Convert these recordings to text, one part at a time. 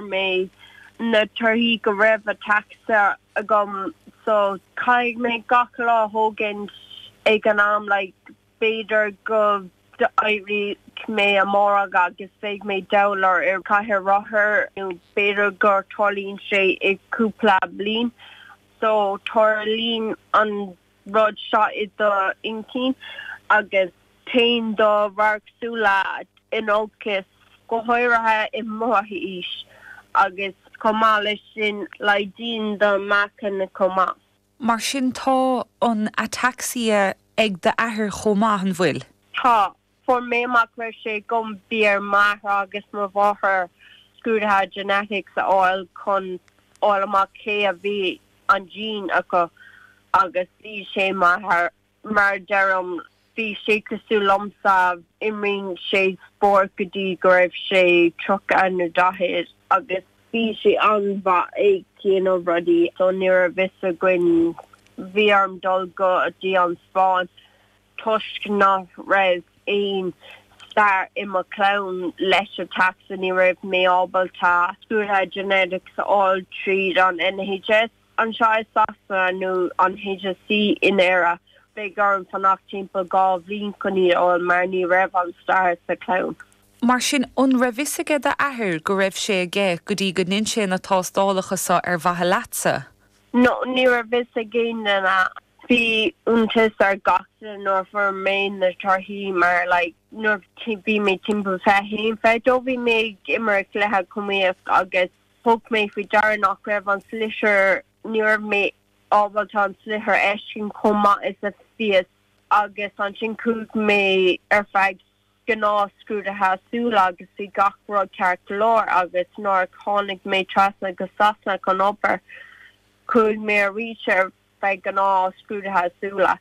mé na torthaí go raibh ataxia agam so caithfidh mé gach lá a thógaint ag an am like b'fhéidir go d'éireoidh mé amárach agus beidh mé dall ar ar cathaoir rothar nó b'fhéidir gur tarlaíonn sé i cúpla bliain so tarlaíonn an rud seo i do intinn agus téann do radharc súile in olcas, go háirithe i mo aois, agus chomh maith leis sin laghdaíonn do meáchan chomh maith. Mar sin tá an ataxia ag d'athair chomh maith, an bhfuil? Tá. Fuair mé amach go raibh sé agam, bhí ar m'athair agus mo mháthair scrúduithe genetics a fháil chun fháil amach cé a bhí an gene acu agus bhí sé m'athair. Mar a deirim, bhí sé cosúil liomsa, imríonn sé spórt go dtí go raibh sé 30 nó 40 agus bhí sé an-mhaith ag déanamh rudaí so ní raibh fhios againn, bhí orm dul go dtí an Spáinn. Toisc nach raibh aon stair i mo chlann leis ataxia ní raibh mé ábalta scrúduithe genetics a fháil tríd an NHS anseo i Sasana nó an HSE in Éire. Beidh orm fanacht timpeall 2 bhliain chun iad a fháil mar ní raibh an stair sa chlann. Mar sin, an raibh fhios aige d'athair go raibh sé aige go dtí go ndein sé na tástálacha so ar mhaithe leatsa? No, ní raibh fhios ag aon duine. Bhí iontas ar gach duine nuair a fuair mé na torthaí mar like nuair a bhí mé timpeall 21, 22 bhí mé ag imirt cluiche camógaíocht agus thug mé faoi deara nach raibh an sliotar, ní raibh mé ábalta an sliotar a fheiscint chomh maith is a bhíos agus ansin chuaigh mé ar feadh gnáth scrúdaithe súl agus bhí gach rud ceart go leor agus nuair a tháinig mé trasna go Sasana chun obair chuaigh mé arís ar feadh gnáth scrúdaithe súile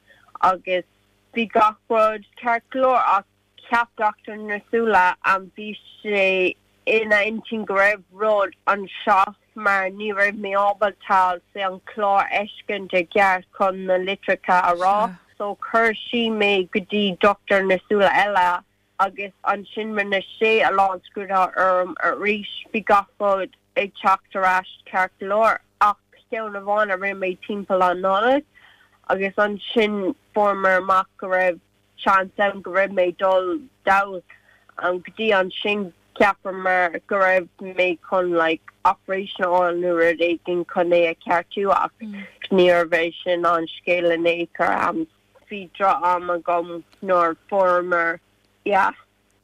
agus bhí gach rud ceart go leor ach cheap dochtúir na súile bhí sé ina intinn go raibh rud anseo mar ní raibh mé ábalta say an clár a fheiscint i gceart chun na litreacha a rá so chuir sí mé go dtí dochtúir na súile eile agus ansin rinne sé a lán scrúduithe orm arís bhí gach rud ag teacht ar ais ceart go leor ach ceann amháin a rinne mé timpeall an Nollaig agus ansin fuaireamar amach go raibh seans ann go raibh mé dul dall go dtí ansin cheapamar go raibh mé chun like operation a fháil nó rud éigin chun é a cheartú ach níorbh é sin an scéal in aon chor. Bhí droch-am agam nuair fuaireamar yeah.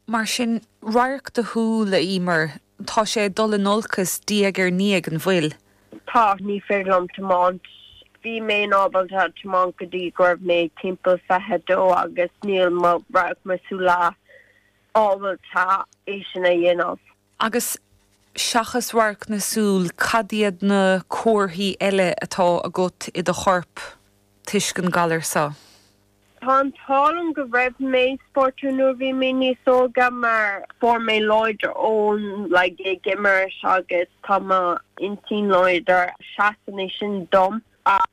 Mar sin, radharc do shúl, a Emer, tá sé ag dul in olcas diaidh ar ndiaidh, an bhfuil? Tá, ní féidir liom tiomáint. Bhí mé in ábalta tiomáint go dtí go raibh mé timpeall 22 agus níl mo radharc mo súile ábalta é sin a dhéanamh. Agus seachas radharc na súl, cad iad na comharthaí eile atá agat i do chorp toisc an galar seo? Tá an t-ádh liom go raibh mé spórtúil nuair a bhí mé níos óige mar fuair mé láidir ón like ag imirt agus tá mo intinn láidir. Seasann é sin dom ach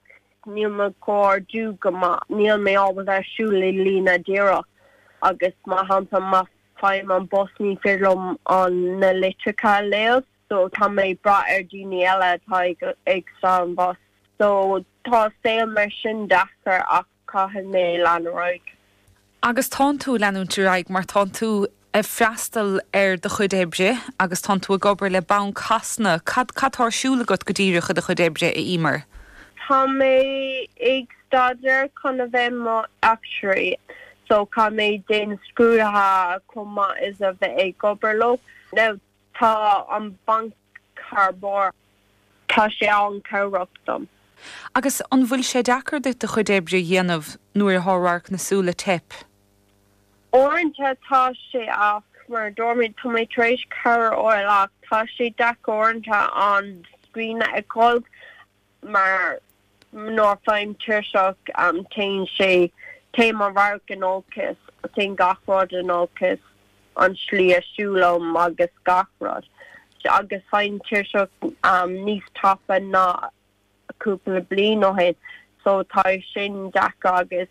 níl mo chomhordú go maith. Níl mé ábalta siúl i líne díreach agus mar shampla má faighim an bus ní féidir liom an na litreacha a léamh so tá mé ag brath ar daoine eile atá ag ag stad an bus. So tá saol mar sin deacair ach caithfidh mé lean ar aghaidh. Agus tánn tú ag leanúint ar aghaidh mar tánn tú ag freastal ar do chuid oibre agus tánn tú ag obair le Banc Shasana. Cad, cad tá ar siúl agat go díreach i do chuid oibre, a Emer? Tá mé ag staidéar chun a bheith mo actuary so caithfidh mé déanamh scrúduithe chomh maith is a bheith ag obair leo. Now Tá an banc thar barr. Tá sé an-cabhrach dom. Agus an bhfuil sé deacair duit do chuid oibre a dhéanamh nuair atá radharc na súl ag teip? Uaireanta tá sé ach mar a dúirt mé tá mé tar éis cabhair a fháil ach tá sé deacair uaireanta an screen a fheiceáil mar nuair a fhaighim tuirseach téann sé, téann mo radharc in olcas, téann gach rud in olcas, an slí a siúlaim agus gach rud. Agus faighim tuirseach níos tapa ná cúpla bliain ó shin so tá sin deacair agus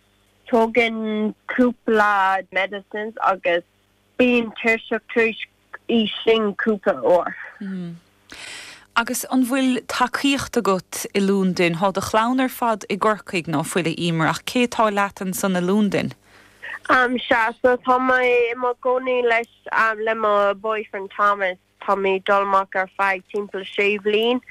tógann cúpla medicines agus bím tuirseach tar éis í sin cúpla uair. Agus an bhfuil tacaíocht agat i Lúndain? Thá do chlann ar fad i gCorcaigh, ná fuil, a Emer, ach cé atá leat ansan i Lúndain? Sea, so tá mé i mo gcónaí leis, le mo boyfriend Thomas. Tá mé ag dul amach ar feadh timpeall sé bhliain.